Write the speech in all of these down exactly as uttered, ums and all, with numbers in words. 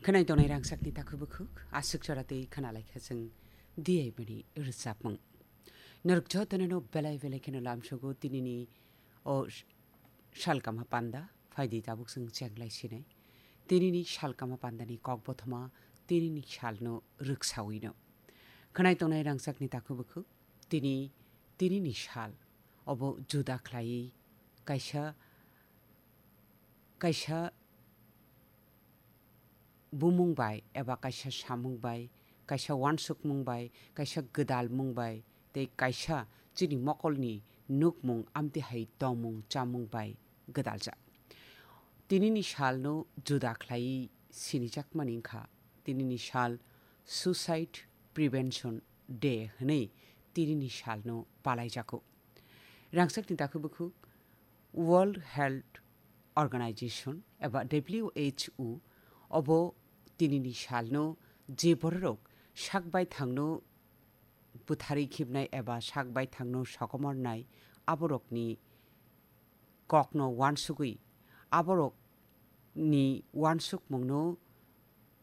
Khwnai tongnai rangchakni takhuk bukhuk, aswk jora tei khwnalaikha chwng D I B ni rwchapmung. Norok jotono no belai belai kheno lamsogo tinini o sh-, salkama panda, phaidi tabuk chwng chenglai sinai. Tinini salkama pandani kok bothoma, tinini salno rwksawino. Khwnai tongnai rangchakni takhuk bukhuk, tini, tinini sal, obo juda khlaiwi kaisa, kaisa bumung bai eba kaisa samung bai, kaisa uansukmung bai, kaisa gwdalmung bai, tei kaisa chini mokolni nukmung amtwi hai tongmung chamung bai gwdaljak. Tinini salno juda khlaiwi sinijakmani wngkha, tinini sal Suicide Prevention Day hwnwi tinini salno palaijago. Rangchakni takhuk bukhuk World Health Organization eba W H O obo tinini salno je bororok sak baithangno bwtharwi khibnai eba sak baithangno sokomornai aborokni kokno uansugwi aborokni uansukmungno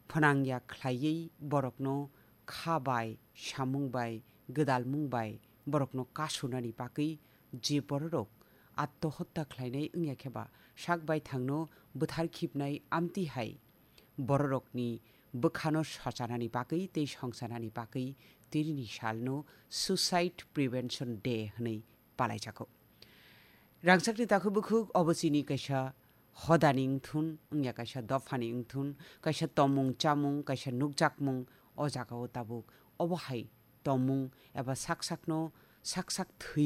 phnangya khlaiwi borokno kha bai, samung bai, gwdalmung bai borokno kasunani bagwi je bororok attohotta khlainai wngya khe ba sak baithangno bwthar khibnai amtwi hai bororokni bwkhano sochanani bagwi tei songchanani bagwi tinini salno Suicide Prevention Day hwnwi palaijago. Rangchakni takhuk bukhuk obo chini kaisa hodani wngthun, wngya kaisa dophani wngthun, kaisa tomung chamung, kaisa nukjakmung o jagao tabuk obo hai tomung eba sak sakno, sak sak thwi